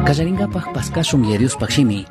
Kallaringapaj paskashun Yaya Diospaj shimi,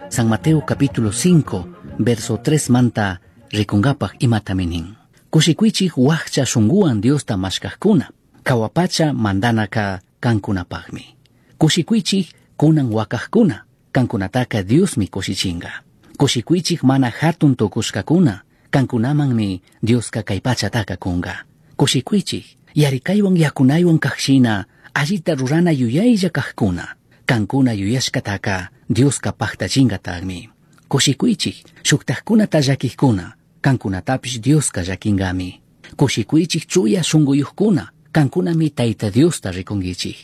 San Mateo capítulo 5, verso 3 manta rikungapaj imatami nin. Kushikuychik wakcha shunguwan Diosta mashkajkuna, kawapacha mandanaka kankunapajmi. Kushikuychik kunan wakajkuna, kankunataka Diosmi kushichinga. Kushikuychik mana hatun tukushkakuna, kankunamanmi Dioska kay pachataka kunga. Kushikuychik, yarikaywan yakunaywan kajshina, allita rurana yuyaylla kajkuna, kankuna yuyashkataka Dioska paktachingatagmi. Kushikuychik, shuktajkunata llakijkuna, kankunatapish Dioska llakinkami. Kushikuychik chuya shunquyuqkuna, kankunami Tayta Diosta rikunkichik.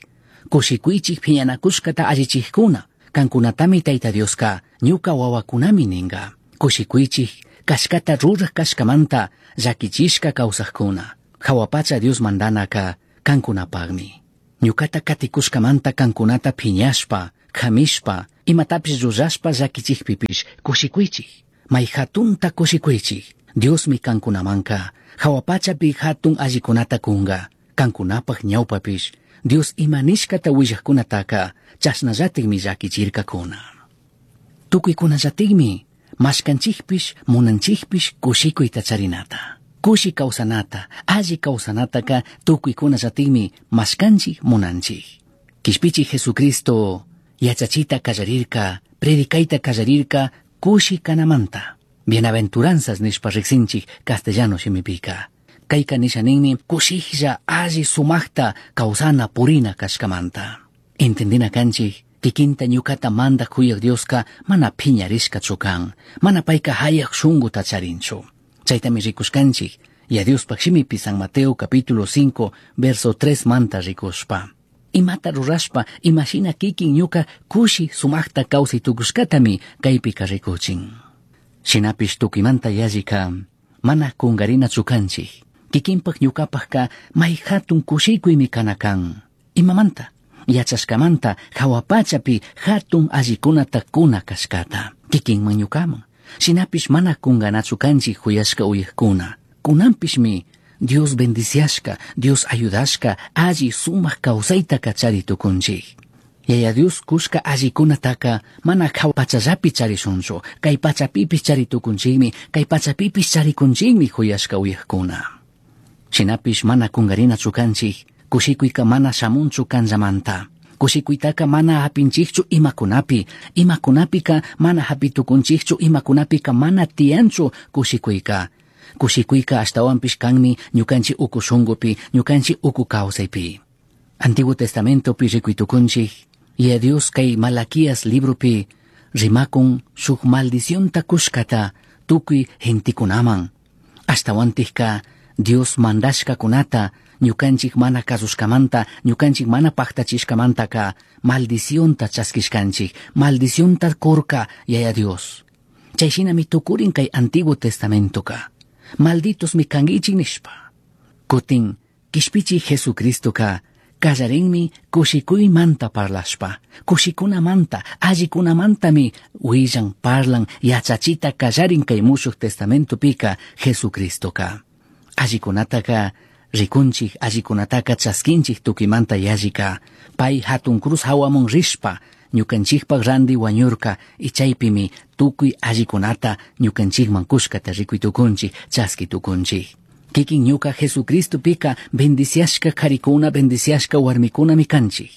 Kushikuychik phiñanakushkata allichijkuna, kankunatami Tayta Dioska ñuka wawakunami ninga. Kushikuychik kashkata ruraj kashkamanta llakichishka kawsajkuna. Hawapacha Dios mandanaka kankunapagmi. Ñukata katikushkamanta kankunata phiñashpa, kamishpa, imatapish rurashpa llakichikpipish kushikuychik. May hatunta kushikuychik. Diosmi kankunamanka hawapachapi hatun allikunata kunga. Kankunapaj ñawpapish Dios ima nishkata willajkunataka chashnallatikmi llakichirkakuna. Tukuykunallatikmi mashkanchikpish munanchikpish kushikuyta charinata. Kushi kawsanata, alli kawsanataka tukuykunallatikmi mashkanchik munanchik. Kishpichik Jesucristo yachachita kallarirka, predicayta kallarirka kushi kanamanta. Bienaventuranzas nishpa riksinchik castellano shimipika. Kayka nisha ninmi kushiklla alli sumaqta kawsana purina kashkamanta. Entendina kanchik, kikinta ñukata mandak kuyaq Dioska mana phiñarishkachu kan, mana payka hayaq shunguta charinchu. Chaytami rikushkanchik, Yaya Diospaj shimipi San Mateo capítulo 5, verso 3 manta rikushpa. Imata rurashpa, imashina kikin ñuka kushi sumaqta kawsay tukushkatami kaypika rikuchin. Shinapish tukuymanta yallika mana kungarinachu kanchik. Kikinpaj ñukapajka may hatun kushikuymi kana kan. Imamanta? Yachashkamanta hawapachapi hatun allikunata kuna kashkata. Kikinman ñukaman. Shinapish mana kunganachu kanchik huyashka uyajkuna. Kunanpishmi Dios bendiciashka, Dios ayudashka, alli sumaq kawsayta chari tukunchik. Yaya Dios kushka allikunataka mana hawa pachallapi charishunchu, kay pachapipish chari tukunchikmi, kay pachapipish charikunchikmi huyashka uyajkuna. Shinapish mana kungarinachu kanchik, kushikuyka mana shamunchu kanllamanta. Kushikuytaka mana hapinchikchu imakunapi, imakunapika mana hapitukunchikchu, imakunapika mana tiyanchu kushikuyka. Kushikuyka ashtawanpish kanmi ñukanchik uku shungupi, ñukanchik uku kawsaypi. Antiguo Testamentopi rikuytukunchik, Yaya Dios kay Malaquías libropi rimakun shuk maldicionta kushkata tukuy gentikunaman. Ashtawantikka Dios mandashkakunata ñukanchik mana kasushkamanta, ñukanchik mana paktachishkamantaka maldicionta chaskishkanchik, maldicionta kurka Yaya Dios. Chayshinami tukurin kay Antiguo Testamentoka. Malditosmi kankichik nishpa. Kutin kishpichik Jesucristoka kallarinmi kushikuymanta parlashpa, kushikunamanta, allikunamantami willan, parlan, yachachita kallarin kay Mushuq Testamentopika Jesucristoka. Allikunataka rikunchik, allikunataka chaskinchik tukuymanta yallika, pay hatun cruz hawamun rishpa, ñukanchikpak randi wañurka, y chaypimi tukuy allikunata ñukanchikman kushkata rikuy tukunchik, chaski tukunchik. Kikin ñuka Jesucristopika bendiciashka karikuna, bendiciashka warmikunami kanchik.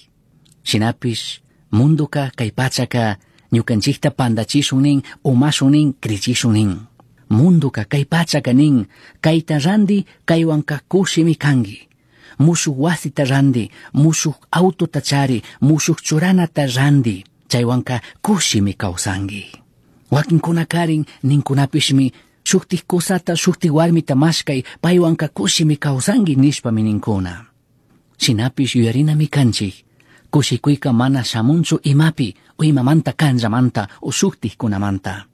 Shinapish mundoka kay pachaka ñukanchikta pandachishun nin, umashun nin, krichishun nin. Mundoka kay pachaka nin, kayta randi kaywanka kushimi kanki. Mushuk wasita randi, mushuk autota chari, mushuk churanata randi, chaywanka kushimi kawsanki. Wakinkunakarin ninkunapishmi shuktik kusata, shuktik warmita mashkay, paywanka kushimi kawsanki nishpami ninkuna. Shinapish yuyarinami kanchik, kushikuyka mana shamunchu imapi, o imamanta kanllamanta, o shuktikkunamanta.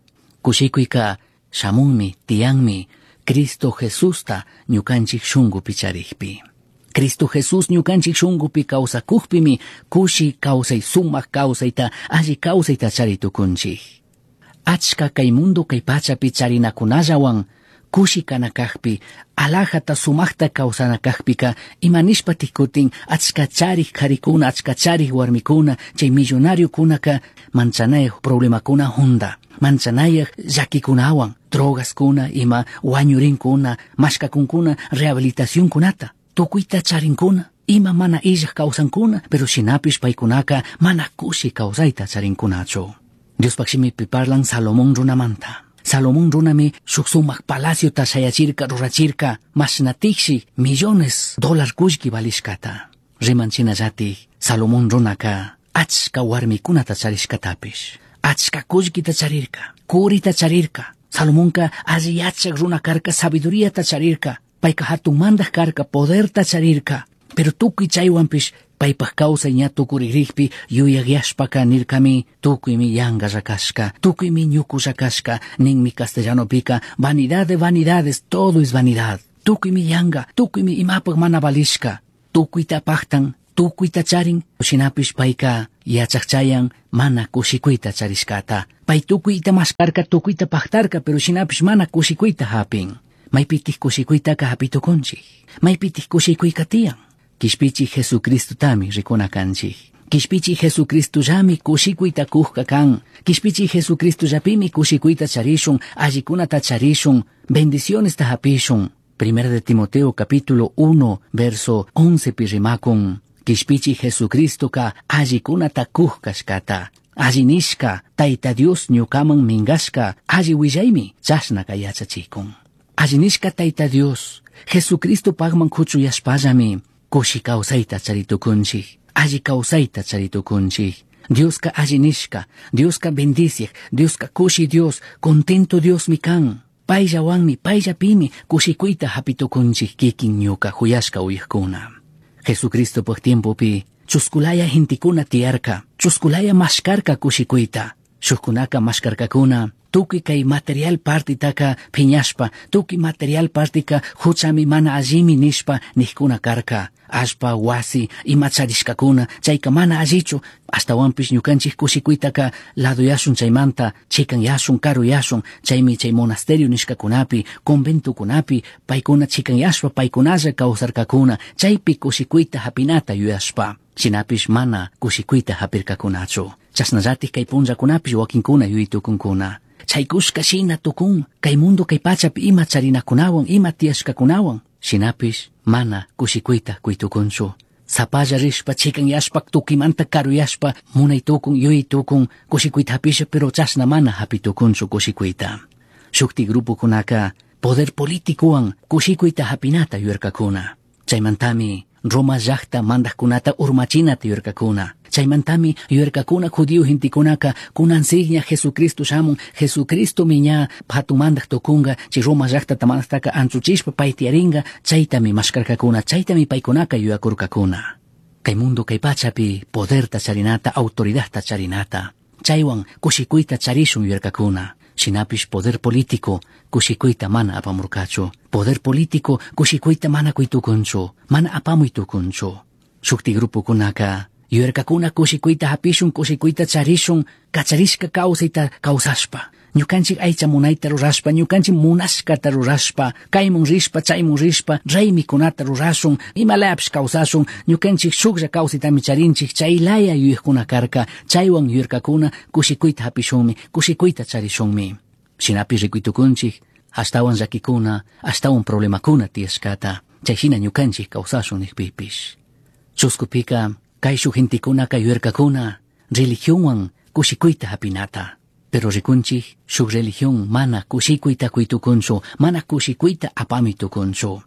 Kushikuyka shamunmi, tiyanmi, Cristo Jesusta ñukanchik shungupi charikpi. Cristo Jesús ñukanchik shungupi kawsakukpimi kushi kawsay, sumak kawsayta, alli kawsayta chari tukunchik. Achka kay mundo kay pachapi charinakunallawan Kushi kana kajpi, alajata sumajta kawsana kajpika, ima nishpatik kutin achka charik karikuna, achka charik warmikuna, chay millonariokunaka manchanayaj problemakuna hunda, manchanayaj llakikunawan, drogaskuna, ima wañurinkuna, mashkakunkuna, rehabilitacionkunata, tukuyta charinkuna, ima mana illaj kawsankuna, pero shinapish paykunaka mana kushi kawsayta charinkunachu. Diospaj shimipi parlan Salomón runamanta. Salomón runami shuk sumak palaciota shayachirka rurachirka mashnatikshi millones dólar kullki valishkata. Riman shinallatik Salomón runaka achka warmikunata charishkatapish. Achka kullkita charirka, kurita charirka. Salomonka alli yachak runa karka, sabiduriata charirka. Payka hatun mandaj karka, poderta charirka. Pero tukuy chaywanpish paypaj kawsay ña tukurikpi yuyayashpaka nirkami tukuymi yankalla kashka, tukuymi ñukulla kashka, ninmi castellanopika, vanidad de vanidades, todo es vanidad. Tukuymi yanka, tukuymi imapaj mana valishka, tukuyta paktan, tukuyta charin, shinapish payka yachakchayan mana kushikuyta charishkata. Pay tukuyta maskarka, tukuyta paktarka, pero shinapish mana kushikuyta hapin. Maypitik kushikuytaka hapitukunchik, maypitik kushikuyka tiyan. Kishpichi Jesucristotami rikuna kanchik. Kishpichi Jesucristollami kushikuyta kujka kan. Kishpichi Jesucristollapimi kushikuyta charishun, allikunata charishun, bendicionesta hapishun. Primera de Timoteo capítulo 1, verso 11 pi rimakun. Kishpichi Jesucristoka allikunata kujkashkata. Alli nishka, Tayta Dios ñukaman minkashka, alli willaymi chashnaka yachachikun. Alli nishka Tayta Dios, Jesucristo pagman kuchuyashpallami, kushi kawsayta charitukunchik, alli kawsayta charitukunchik. Dioska alli nishka, Dioska bendiciak, Dioska kushi Dios, contento Diosmi kan. Payllawanmi, payllapimi kushikuyta hapitukunchik kikin ñuka huyashka uyajkuna. Jesucristopaj tiempopi chuskulaya gentekuna tiyarka, chuskulaya mashkarka kushikuyta. Shukkunaka mashkarkakuna, tukuy kay material partitaka phiñashpa, tukuy material partika huchami mana allimi nishpa nijkuna karka. Allpa, wasi, ima charishkakuna, chayka mana allichu, ashtawanpish ñukanchik kushikuytaka laduyashun chaymanta, chikanyashun, karuyashun, chaymi chay monasterio nishkakunapi, conventokunapi, paykuna chikanyashpa, paykunalla kawsarkakuna, chaypi kushikuyta hapinata yuyashpa. Shinapish mana kushikuyta hapirkakunachu. Chashnallatik kay punllakunapish wakinkuna yuyitukunkuna. Chaykushka shina tukun, kay mundo kay pachapi ima charinakunawan, ima tiyashkakunawan. Shinapish mana kushikuyta kuytukunchu. Sapalla rishpa, chikanyashpa, tukimanta karuyashpa, munaytukun, yuyaytukun, kushikuyta hapisha, pero chashna mana hapitukunchu kushikuyta. Shukti grupokunaka poder politicowan kushikuyta hapinata yuyarkakuna. Chaymantami Roma llakta mandajkunata urmachinata yuyarkakuna. Chaymantami yuyarkakuna judío gentekunaka kunansikña Jesucristo shamun, Jesucristomi ña hatun mandaj tukunka, chay Roma llaktata mandajtaka anchuchishpa pay tiyarinka, chaytami mashkarkakuna, chaytami paykunaka yuyakurkakuna. Kay mundo kay pachapi poderta charinata, autoridadta charinata, chaywan kushikuyta charishun yuyarkakuna. Shinapish poder político kushikuyta mana apamurkachu. Poder político kushikuyta mana kuytukunchu, mana apamuytukunchu. Shukti grupokunaka yuyarkakuna kushikuyta hapishun, kushikuyta charishun, kacharishka kawsayta kawsashpa. Ñukanchik aycha munayta rurashpa, ñukanchik munashkata rurashpa, kaymun rishpa, chaymun rishpa, raymikunata rurashun, imalapish kawsashun, ñukanchik shuklla kawsaytami charinchik, chaylaya yuyajkuna karka, chaywan yuyarkakuna kushikuyta hapishunmi, kushikuyta charishunmi. Shinapish rikuytukunchik, ashtawan llakikuna, ashtawan problemakuna tiyashkata, chayshina ñukanchik kawsashun nijpipish. Chuskupika, kayshuk gentekunaka yuyarkakuna, religionwan kushikuyta hapinata. Pero rikunchik, shuk religión mana kushikuyta kuytukunchu, mana kushikuyta apamitukunchu.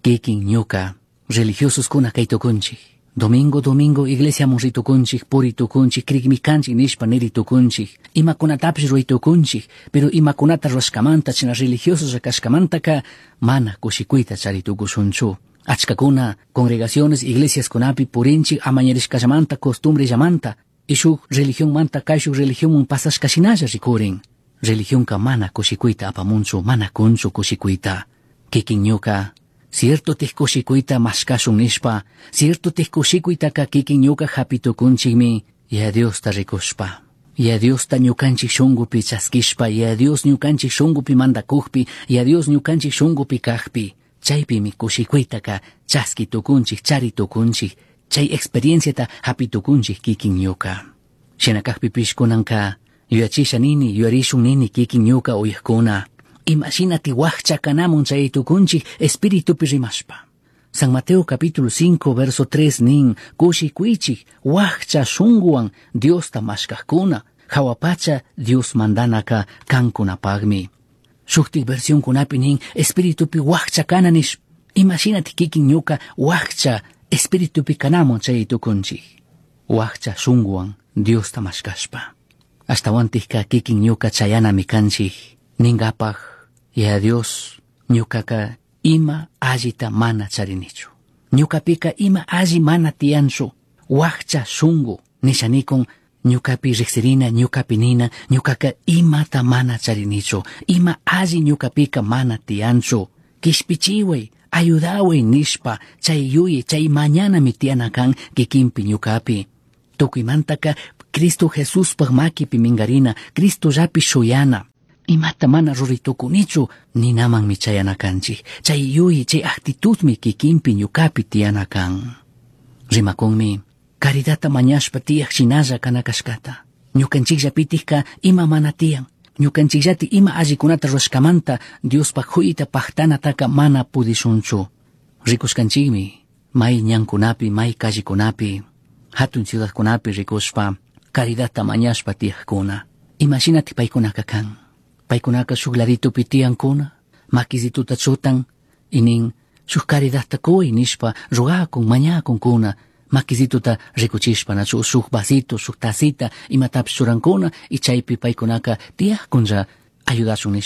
Kikin ñuka, religiososkuna kaytukunchik. Domingo, domingo, iglesiaman ritukunchik, puritukunchik, krikmi kanchik nishpa niritukunchik. Imakunatapish ruraytukunchik, pero imakunata rurashkamanta, china religiosos kashkamantaka, mana kushikuyta charitukushunchu. Achkakuna, congregaciones, iglesiaskunapi purinchik amañarishkallamanta, costumbrellamanta, y shuk religionmanta kayshuk religionman pasashkashinalla rikurin. Religionka mana kushikuyta apamunchu, mana kunchu kushikuyta. Kikin ñuka, cierto tih kushikuyta mashkashun nishpa, cierto tih kushikuytaka kikin ñuka hapitukunchikmi, Yaya Diosta rikushpa. Yaya Diosta ñukanchik shunkupi chaskishpa, Yaya Dios ñukanchik shunkupi mandakukpi, Yaya Dios ñukanchik shunkupi kakpi, chaypimi kushikuytaka chaski tukunchik, chari tukunchik, chay experienciata hapi tukunchik kikin ñuka. Shina kakpipish kunanka yuyachisha nini, yuyarishun nini kikin ñuka uyakuna. Imashinati wakcha kanamun chay tukunchik espiritupi rimashpa. San Mateo capítulo 5 verso 3 nin, kushikuychik wakcha shunguwan Diosta mashkajkuna, hawapacha Dios mandanaka kankunapagmi. Shuktik versionkunapi nin, espiritupi wakcha kana nish, imashinati kikin ñuka wakcha espiritupi kanamun chay tukunchik. Wakcha shunguwan Diosta mashkashpa. Ashtawantikka kikin ñuka chayanami kanchik, ningapaj, Yaya Dios, ñukaka ima allita mana charinichu. Ñukapika ima alli mana tiyanchu, wakcha shungu, nishanikun, ñukapi riksirina, ñukapi nina, ñukaka imata mana charinichu, ima alli ñukapika mana tiyanchu. Kishpichiway, ayudaway nishpa, chay yuyi, chay mañanami tiyana kan kikinpi ñukapi. Tukuymantaka Cristo Jesuspaj makipi minkarina, Cristollapi shuyana. Imata mana ruraytukunichu ninamanmi chayana kanchik. Chay yuyi, chay actitudmi kikinpi ñukapi tiyana kan. Rimakunmi, caridadta mañashpa tiyaj shinalla kana kashkata. Ñukanchikllapitikka ima mana tiyan. Ñukanchikllati ima allikunata rurashkamanta Diospaj huyta pajtanataka mana pudishunchu. Rikushkanchikmi, may ñankunapi, may callekunapi, hatun ciudadkunapi rikushpa, caridadta mañashpa tiyajkuna. Imashinati paykunaka kan. Paykunaka shuk laditupi tiyankuna, makisituta chutan, y nin, shuk caridadta kuy nishpa rogakun, mañakunkuna, makisituta rikuchishpa, nachu shuk vasito, shuk tacita, imatapish churankuna, y chaypi paykunaka tiyajkunlla ayudashun nishpa.